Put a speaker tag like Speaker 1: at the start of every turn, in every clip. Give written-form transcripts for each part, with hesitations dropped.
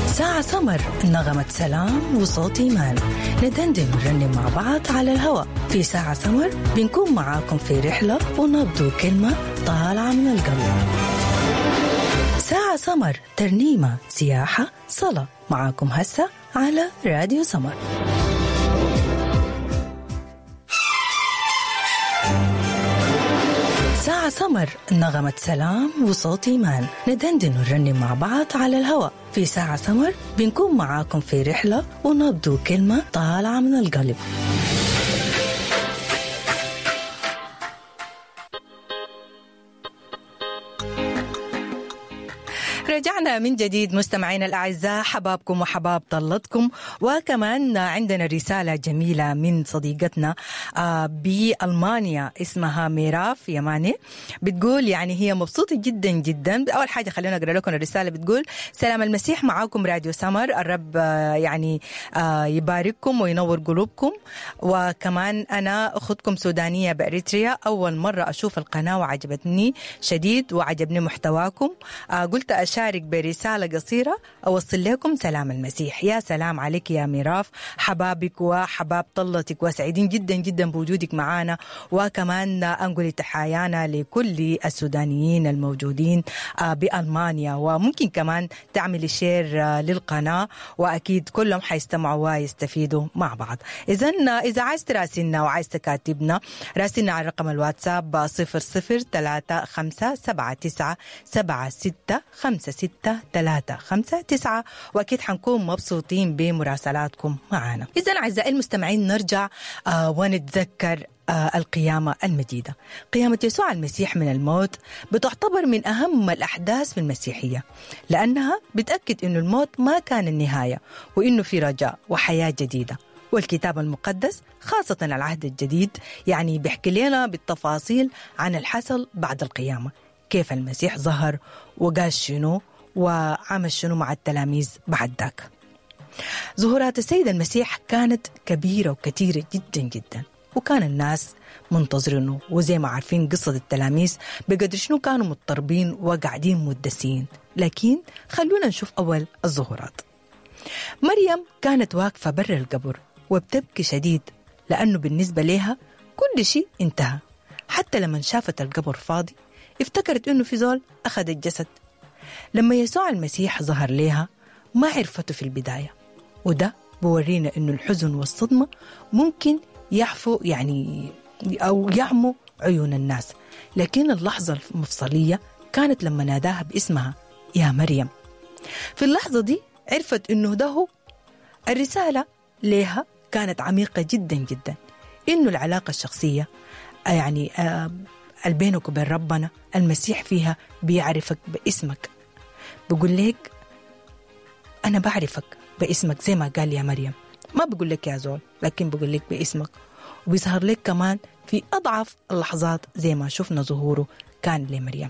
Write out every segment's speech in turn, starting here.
Speaker 1: ساعة سمر، نغمة سلام وصوت إيمان، ندندن ونرنم مع بعض على الهواء في ساعة سمر. بنكون معاكم في رحلة ونبض كلمة طالعة من القلب. ساعة سمر، ترنيمة، سياحة، صلاة، معاكم هسه على راديو سمر. ساعة سمر، نغمة سلام وصوت إيمان، ندندن ونرنم مع بعض على الهواء في ساعة سمر. بنكون معاكم في رحلة ونبض كلمة طالعة من القلب. رجعنا من جديد مستمعينا الأعزاء، حبابكم وحباب طلتكم. وكمان عندنا رسالة جميلة من صديقتنا بألمانيا اسمها ميراف يماني، بتقول يعني هي مبسوطة جدا جدا. أول حاجة خلينا أقرأ لكم الرسالة. بتقول: سلام المسيح معاكم راديو سمر، الرب يعني يبارككم وينور قلوبكم. وكمان أنا أختكم سودانية بأريتريا، أول مرة أشوف القناة وعجبتني شديد وعجبني محتواكم. قلت أشارك برسالة قصيرة أوصل لكم سلام المسيح. يا سلام عليك يا ميراف، حبابك وحباب طلتك، وسعيدين جدا جدا بوجودك معنا. وكمان أنقل تحايانا لكل السودانيين الموجودين بألمانيا، وممكن كمان تعمل share للقناة وأكيد كلهم حيستمعوا ويستفيدوا مع بعض. إذا عايز تراسلنا وعايز تكاتبنا، راسلنا على رقم الواتساب 0035 79 76 56 3 5 9، وأكيد حنكون مبسوطين بمراسلاتكم معنا. إذا أعزائي المستمعين نرجع ونتذكر القيامة المجيدة. قيامة يسوع المسيح من الموت بتعتبر من أهم الأحداث في المسيحية، لأنها بتأكد إنه الموت ما كان النهاية، وإنه في رجاء وحياة جديدة. والكتاب المقدس خاصة العهد الجديد يعني بيحكي لنا بالتفاصيل عن الحصل بعد القيامة، كيف المسيح ظهر وقال شنو وعمل شنو مع التلاميذ بعد ذاك. ظهورات السيد المسيح كانت كبيرة وكثيرة جدا جدا، وكان الناس منتظرينه، وزي ما عارفين قصة التلاميذ بقدر شنو كانوا مضطربين وقاعدين مدسين. لكن خلونا نشوف أول الظهورات. مريم كانت واقفة برا القبر وبتبكي شديد، لأنه بالنسبة لها كل شيء انتهى. حتى لما شافت القبر فاضي افتكرت إنه في زول أخذ الجسد. لما يسوع المسيح ظهر لها ما عرفته في البداية، وده بورينا إنه الحزن والصدمة ممكن يعفو يعني أو يعموا عيون الناس. لكن اللحظة المفصلية كانت لما ناداها باسمها، يا مريم. في اللحظة دي عرفت إنه ده هو. الرسالة لها كانت عميقة جدا جدا، إنه العلاقة الشخصية يعني بينك وبين ربنا المسيح فيها بيعرفك باسمك، بيقول لك أنا بعرفك باسمك زي ما قال يا مريم. ما بيقول لك يا زول، لكن بيقول لك باسمك. وبيظهر لك كمان في أضعف اللحظات زي ما شفنا ظهوره كان لمريم.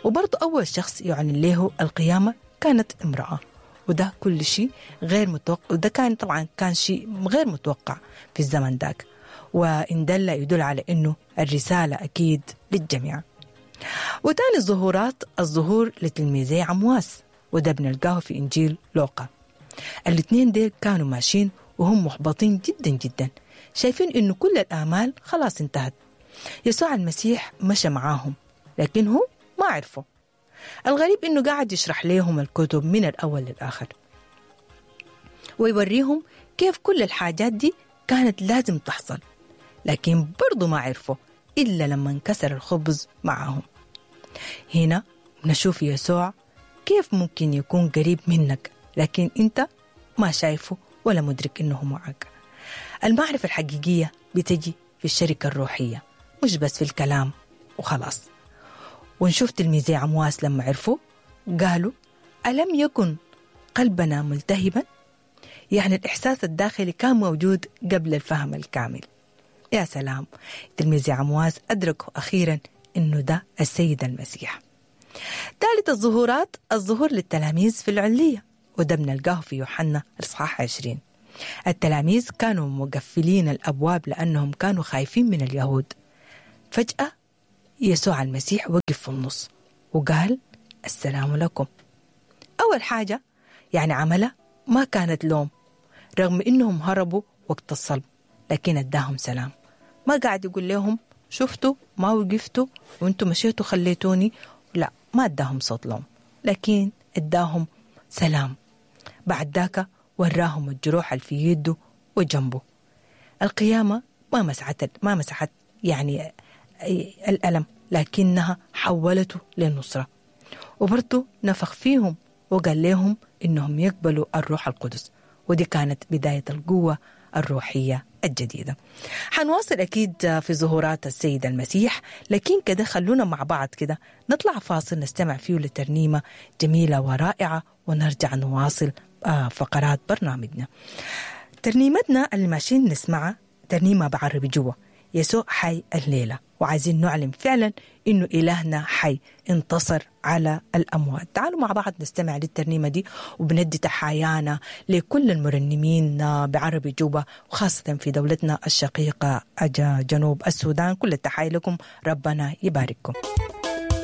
Speaker 1: وبرضه أول شخص يعلن له القيامة كانت امرأة، وده كل شيء غير متوقع، وده كان طبعا كان شيء غير متوقع في الزمن ذاك، وإن دل يدل على إنه الرسالة أكيد للجميع. وتاني الظهورات الظهور لتلميذي عمواس، وده بنلقاه في إنجيل لوقا. الاثنين ديل كانوا ماشيين وهم محبطين جدا جدا، شايفين إنه كل الآمال خلاص انتهت. يسوع المسيح مشى معاهم لكن هو ما عرفه. الغريب إنه قاعد يشرح لهم الكتب من الأول للآخر ويوريهم كيف كل الحاجات دي كانت لازم تحصل، لكن برضو ما عرفوا إلا لما انكسر الخبز معهم. هنا نشوف يسوع كيف ممكن يكون قريب منك لكن أنت ما شايفه ولا مدرك إنه معك. المعرفة الحقيقية بتجي في الشركة الروحية، مش بس في الكلام وخلاص. ونشوف تلميذي عمواس لما عرفوا قالوا ألم يكن قلبنا ملتهبا؟ يعني الإحساس الداخلي كان موجود قبل الفهم الكامل. يا سلام، تلميذي عمواس أدركوا أخيرا إنه ده السيد المسيح. ثالث الظهورات الظهور للتلاميذ في العلية، وده بنلقاه في يوحنا الإصحاح 20. التلاميذ كانوا مقفلين الأبواب لأنهم كانوا خايفين من اليهود. فجأة يسوع المسيح وقف في النص وقال السلام لكم. أول حاجة يعني عملها ما كانت لوم، رغم إنهم هربوا وقت الصلب، لكن اداهم سلام. ما قاعد يقول لهم شفتوا ما وقفتوا وانتوا مشيتوا خليتوني، لا، ما اداهم صوت لوم، لكن اداهم سلام. بعد ذاك وراهم الجروح اللي في يده وجنبه. القيامة ما مسحت يعني الألم، لكنها حولته للنصرة. وبرضه نفخ فيهم وقال لهم إنهم يقبلوا الروح القدس، ودي كانت بداية القوة الروحية الجديدة. حنواصل أكيد في ظهورات السيد المسيح، لكن كده خلونا مع بعض كده نطلع فاصل نستمع فيه لترنيمة جميلة ورائعة، ونرجع نواصل فقرات برنامجنا. ترنيمتنا اللي ماشيين نسمعها ترنيمة بعربي جوا، يسوع حي الليلة، وعايزين نعلم فعلا إنه إلهنا حي انتصر على الأموات. تعالوا مع بعض نستمع للترنيمة دي، وبندي تحايانا لكل المرنمين بعربي جوبا، وخاصة في دولتنا الشقيقة جنوب السودان. كل التحايا لكم، ربنا يبارككم.